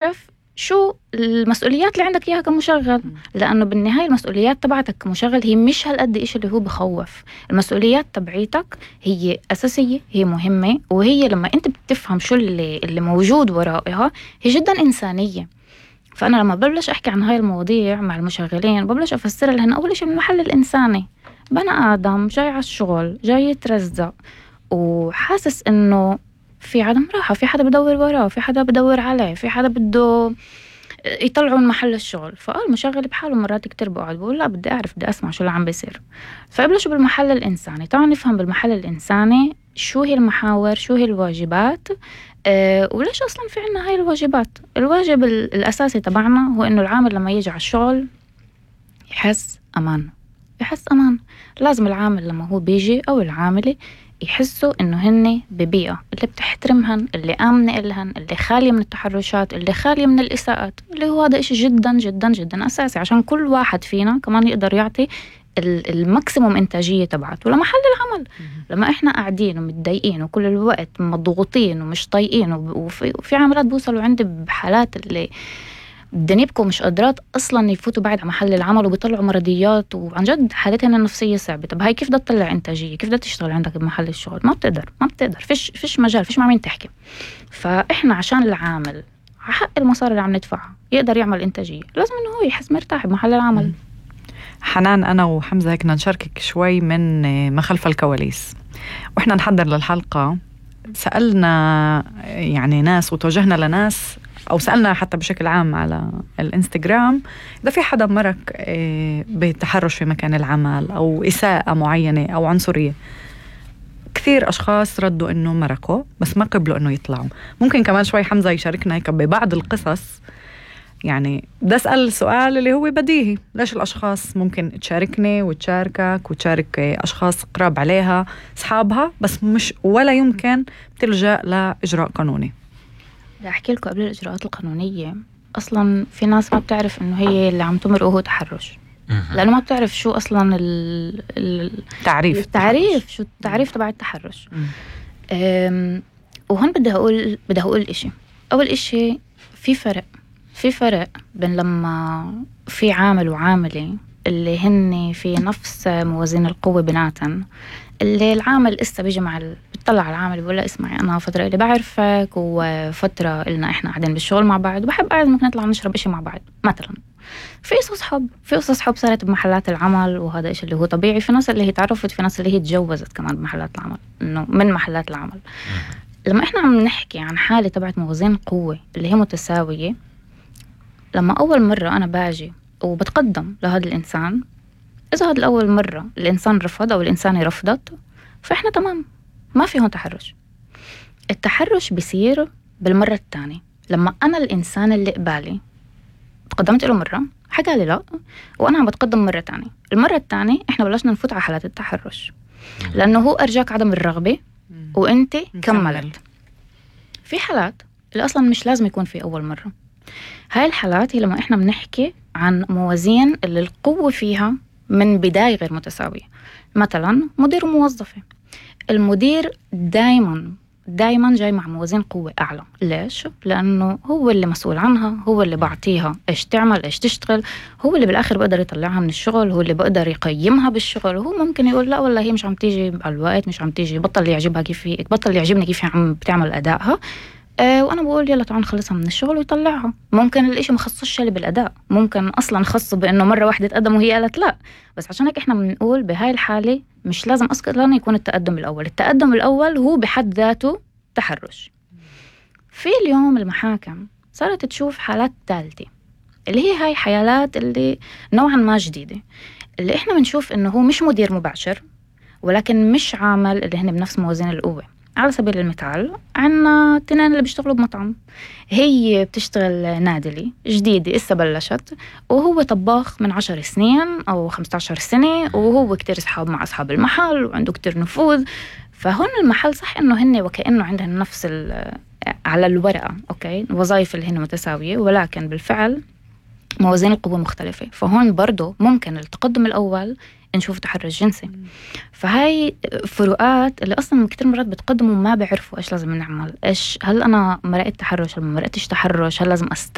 تعرف شو المسؤوليات اللي عندك إياها كمشغل، لأنه بالنهاية المسؤوليات تبعتك كمشغل هي مش هالقد إيش اللي هو بخوف. المسؤوليات تبعيتك هي أساسية، هي مهمة، وهي لما أنت بتفهم شو اللي موجود ورائها هي جدا إنسانية. فأنا لما ببلش أحكي عن هاي المواضيع مع المشغلين ببلش أفسرها لهن أول شيء من المحل الإنساني. بني آدم جاي على الشغل، جاي يترزق وحاسس إنه في عدم راحة، في حدا بدور وراه، في حدا بدور عليه، في حدا بده يطلعوا من محل الشغل. المشغل بحاله مرات كتير بقعد بقول لا بدي أعرف، بدي أسمع شو اللي عم بيصير. فبلشوا بالمحل الإنساني. طبعا نفهم بالمحل الإنساني شو هي المحاور، شو هي الواجبات، وليش أصلا في عنا هاي الواجبات. الواجب الأساسي تبعنا هو إنه العامل لما يجي على الشغل يحس أمان. يحس أمان. لازم العامل لما هو بيجي أو العاملة يحسوا إنه هن ببيئة اللي بتحترمهن، اللي آمنة إلهن، اللي خالية من التحرشات، اللي خالية من الإساءات، اللي هو هذا إشي جدا جدا جدا أساسي عشان كل واحد فينا كمان يقدر يعطي الماكسيموم إنتاجية تبعته لمحل العمل. لما إحنا قاعدين ومتضايقين وكل الوقت مضغوطين ومش طايقين، وفي عاملات بوصلوا عندي بحالات اللي دنيبكم مش قادرات أصلا يفوتوا بعد على محل العمل وبيطلعوا مرضيات، وعن جد حالتهم النفسية صعبة. طب هاي كيف بدها تطلع إنتاجية؟ كيف بدها تشتغل عندك بمحل الشغل؟ ما بتقدر. فيش مجال، فيش مع مين تحكي. فإحنا عشان العامل حق المصاري اللي عم ندفعها يقدر يعمل إنتاجية لازم إنه هو يحس مرتاح بمحل العمل. حنان، أنا وحمزة هيك نشاركك شوي من ما خلف الكواليس. وإحنا نحضر للحلقة سألنا يعني ناس وتوجهنا لناس، أو سألنا حتى بشكل عام على الإنستغرام إذا في حدا مرق بتحرش في مكان العمل أو إساءة معينة أو عنصرية. كثير أشخاص ردوا إنه مرقوا بس ما قبلوا إنه يطلعوا. ممكن كمان شوي حمزة يشاركنا هيك ببعض القصص. يعني بدي أسأل السؤال اللي هو بديهي، ليش الأشخاص ممكن تشاركني وتشاركك وتشارك أشخاص قراب عليها أصحابها بس مش ولا يمكن تلجأ لإجراء قانوني؟ بدي أحكي لكم قبل الإجراءات القانونية أصلا في ناس ما بتعرف إنه هي اللي عم تمرقه هو تحرش، لأنه ما بتعرف شو أصلا التعريف شو التعريف تبع التحرش. وهون بدي أقول إشي. أول إشي في فرق بين لما في عامل وعاملة اللي هن في نفس موازين القوة بيناتن، اللي العامل إسا بيجي بتطلع على العامل بيقول له اسمعي أنا فترة اللي بعرفك وفترة إلنا إحنا قاعدين بالشغل مع بعض وبحب قاعد ممكن نطلع نشرب إشي مع بعض مثلا. في قصص حب صارت بمحلات العمل، وهذا إشي اللي هو طبيعي. في ناس اللي هي تعرفت، في ناس اللي هي تجوزت كمان بمحلات العمل، إنه من محلات العمل. لما إحنا عم نحكي عن حالة تبعت موازين قوة اللي هي متساوية، لما أول مرة أنا باجي وبتقدم لهذا الإنسان، إذا هذا الأول مرة الإنسان رفض أو الإنسانة رفضت فإحنا تمام، ما فيه هون تحرش. التحرش بيصير بالمرة الثانية. لما أنا الإنسان اللي قبالي تقدمت له مرة حكى لي لا، وأنا عم بتقدم مرة تانية، المرة الثانية إحنا بلشنا نفوت على حالات التحرش، لأنه هو أرجاك عدم الرغبة وإنت كملت. في حالات اللي أصلا مش لازم يكون في أول مرة. هاي الحالات هي لما إحنا بنحكي عن موازين اللي القوة فيها من بداية غير متساوية. مثلا مدير وموظفة، المدير دايما جاي مع موازين قوة أعلى. ليش؟ لأنه هو اللي مسؤول عنها، هو اللي بعطيها إيش تعمل إيش تشتغل، هو اللي بالآخر بقدر يطلعها من الشغل، هو اللي بقدر يقيمها بالشغل. وهو ممكن يقول لا والله هي مش عم تيجي على الوقت، مش عم تيجي، بطل يعجبني كيف عم بتعمل أدائها، وأنا بقول يلا تعال نخلصها من الشغل ويطلعها. ممكن الاشي مخصصش اللي بالأداء، ممكن أصلا خصه بأنه مرة واحدة تقدم وهي قالت لا. بس عشان هيك إحنا بنقول بهاي الحالة مش لازم أصلا يكون التقدم الأول هو بحد ذاته تحرش. في اليوم المحاكم صارت تشوف حالات ثالثة، اللي هي هاي حالات اللي نوعا ما جديدة، اللي إحنا بنشوف إنه هو مش مدير مباشر ولكن مش عامل اللي هن بنفس موازين القوة. على سبيل المثال عنا تنين اللي بيشتغلوا بمطعم، هي بتشتغل نادلة جديدة إسا بلشت، وهو طباخ من 10 سنين أو 15 سنة، وهو كتير أصحاب مع أصحاب المحل وعنده كتير نفوذ. فهون المحل صح إنه هن وكأنه عندهم نفس على الورقة أوكي وظائف اللي هن متساوية، ولكن بالفعل موازين القوة مختلفة. فهون برضو ممكن التقدم الأول نشوف تحرش جنسي. فهاي فروقات اللي أصلا كتير مرات بتقدموا ما بعرفوا إيش لازم نعمل، إيش هل أنا مرقت تحرش، هل ما مرقتش تحرش، هل لازم